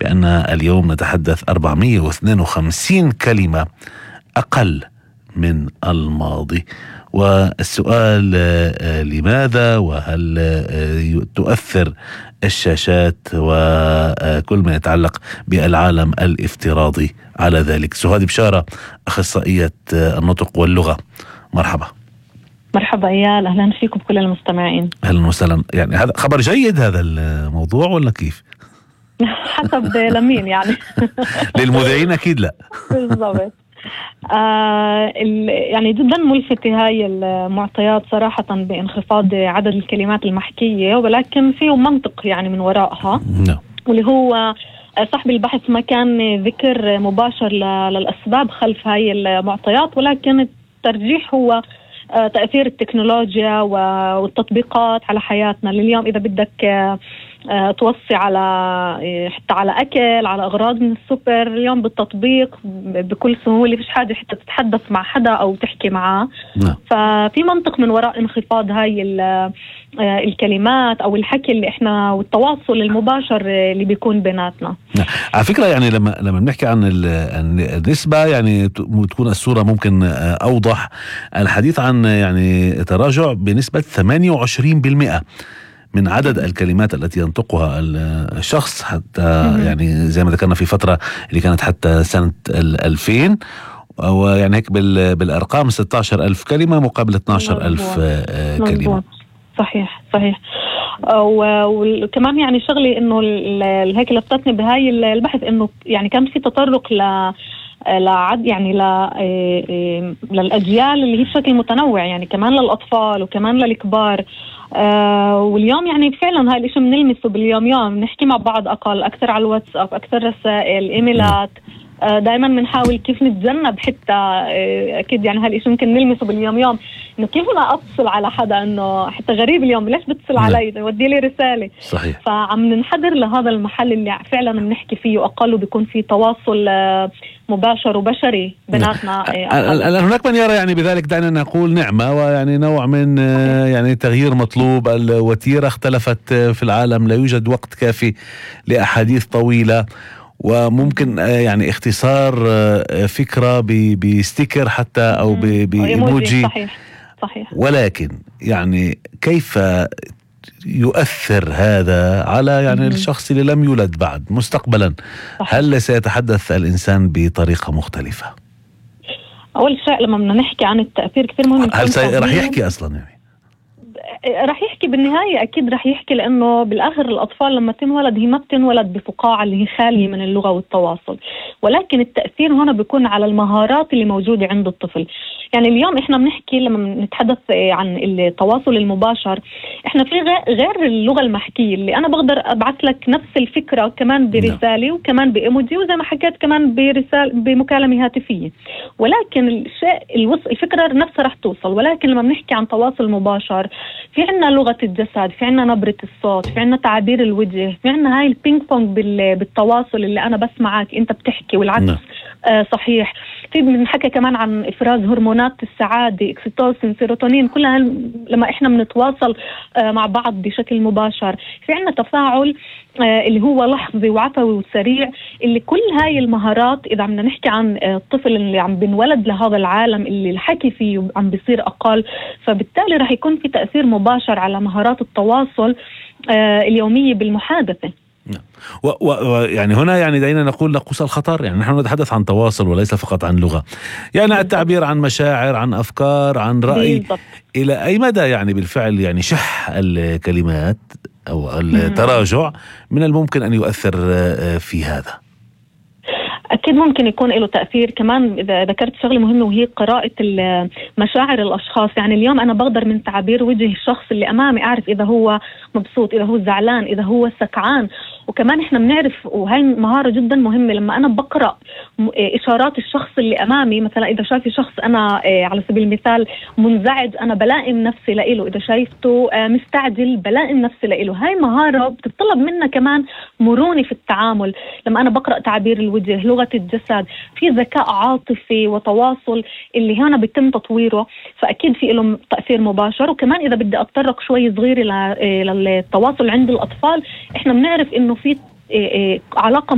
بأن اليوم نتحدث 452 كلمة أقل من الماضي. والسؤال لماذا؟ وهل تؤثر الشاشات وكل ما يتعلق بالعالم الافتراضي على ذلك؟ سهاد بشارة، أخصائية النطق واللغة، مرحبا. مرحبا إيال، أهلا فيكم كل المستمعين. أهلا وسهلا. يعني هذا خبر جيد هذا الموضوع ولا كيف؟ حسب لمين يعني. للمذيعين أكيد لا. بالضبط. يعني جدا ملفتة هاي المعطيات صراحة بانخفاض عدد الكلمات المحكية، ولكن فيه منطق يعني من وراءها. واللي هو صاحب البحث ما كان ذكر مباشر للأسباب خلف هاي المعطيات، ولكن الترجيح هو تأثير التكنولوجيا والتطبيقات على حياتنا. اليوم إذا بدك توصي على حتى على أكل، على أغراض من السوبر، اليوم بالتطبيق بكل سهولة، فيش حاجة حتى تتحدث مع حدا أو تحكي معاه. ففي منطق من وراء انخفاض هاي الكلمات أو الحكي اللي إحنا والتواصل المباشر اللي بيكون بيناتنا. على فكرة يعني لما بنحكي عن النسبة يعني تكون الصورة ممكن أوضح. الحديث عن يعني تراجع بنسبة 28% من عدد الكلمات التي ينطقها الشخص، حتى يعني زي ما ذكرنا في فترة اللي كانت حتى سنة 2000، ويعني هيك بالأرقام 16,000 كلمة مقابل 12,000 كلمة. صحيح. وكمان يعني شغلي انه هيك لفتتني بهاي البحث انه يعني كان في تطرق يعني للأجيال اللي هي بشكل متنوع، يعني كمان للأطفال وكمان للكبار. واليوم يعني فعلا هاي الاشي بنلمسه باليوم نحكي مع بعض أكثر على الواتساب، أكثر رسائل، إيميلات. دائما بنحاول كيف نتجنب حتى أكيد يعني هالإشي ممكن نلمسه باليوم إنه كيف أنا أتصل على حدا، إنه حتى غريب اليوم ليش بتصل علي، ودي لي رسالة. صحيح. فعم ننحدر لهذا المحل اللي فعلا بنحكي فيه، وأقله بيكون فيه تواصل مباشر وبشري بيناتنا. الآن هناك من يرى يعني بذلك دعنا نقول نعمة، ويعني نوع من يعني تغيير مطلوب. الوتيرة اختلفت في العالم، لا يوجد وقت كافي لأحاديث طويلة، وممكن يعني اختصار فكرة بستيكر حتى أو بإيموجي. صحيح. ولكن يعني كيف يؤثر هذا على يعني الشخص اللي لم يولد بعد مستقبلا؟ هل سيتحدث الإنسان بطريقة مختلفة؟ أول شيء لما بدنا نحكي عن التأثير كثير مهم. هل رح يحكي أصلا يعني؟ رح يحكي بالنهاية، أكيد رح يحكي، لأنه بالآخر الأطفال لما تنولد هي ما بتنولد بفقاعة اللي هي خالية من اللغة والتواصل، ولكن التأثير هنا بيكون على المهارات اللي موجودة عند الطفل. يعني اليوم إحنا بنحكي لما نتحدث عن التواصل المباشر، إحنا في غير اللغة المحكية اللي أنا بقدر أبعث لك نفس الفكرة كمان برسالة وكمان بإيموجي، وزي ما حكيت كمان بمكالمة هاتفية، ولكن الفكرة نفسها رح توصل. ولكن لما بنحكي عن تواصل مباشر، في عنا لغة الجسد، في عنا نبرة الصوت، في عنا تعابير الوجه، في عنا هاي البينج بونج بالتواصل اللي أنا بسمعك أنت بتحكي والعكس. صحيح. في بنحكي كمان عن إفراز هرمونات السعادة، اكسيتوسين، سيروتونين، كلها لما إحنا بنتواصل مع بعض بشكل مباشر. في عنا تفاعل اللي هو لحظي وعفوي وسريع، اللي كل هاي المهارات إذا عم نحكي عن الطفل اللي عم بنولد لهذا العالم اللي الحكي فيه عم بيصير أقل، فبالتالي رح يكون في تأثير مباشر على مهارات التواصل اليومية بالمحادثة. ويعني هنا يعني دعينا نقول نقص الخطر. يعني نحن نتحدث عن تواصل وليس فقط عن لغة، يعني التعبير عن مشاعر، عن أفكار، عن رأي. إلى أي مدى يعني بالفعل يعني شح الكلمات أو التراجع من الممكن أن يؤثر في هذا؟ أكيد ممكن يكون له تأثير. كمان إذا ذكرت شغلة مهمة وهي قراءة مشاعر الأشخاص. يعني اليوم أنا بقدر من تعابير وجه الشخص اللي أمامي أعرف إذا هو مبسوط، إذا هو زعلان، إذا هو سكعان. وكمان إحنا بنعرف، وهي مهارة جدا مهمة، لما أنا بقرأ إشارات الشخص اللي أمامي، مثلا إذا شايف شخص أنا على سبيل المثال منزعج، أنا بلائم نفسي لإله. إذا شايفته مستعجل بلائم نفسي لإله. هاي مهارة بتطلب منا كمان مرونة في التعامل. لما أنا بقرأ تعابير الوجه، لغة الجسد، في ذكاء عاطفي وتواصل اللي هنا بيتم تطويره، فأكيد في له تأثير مباشر. وكمان إذا بدي أتطرق شوي صغير للتواصل عند الأطفال، إحنا بنعرف إنه في علاقة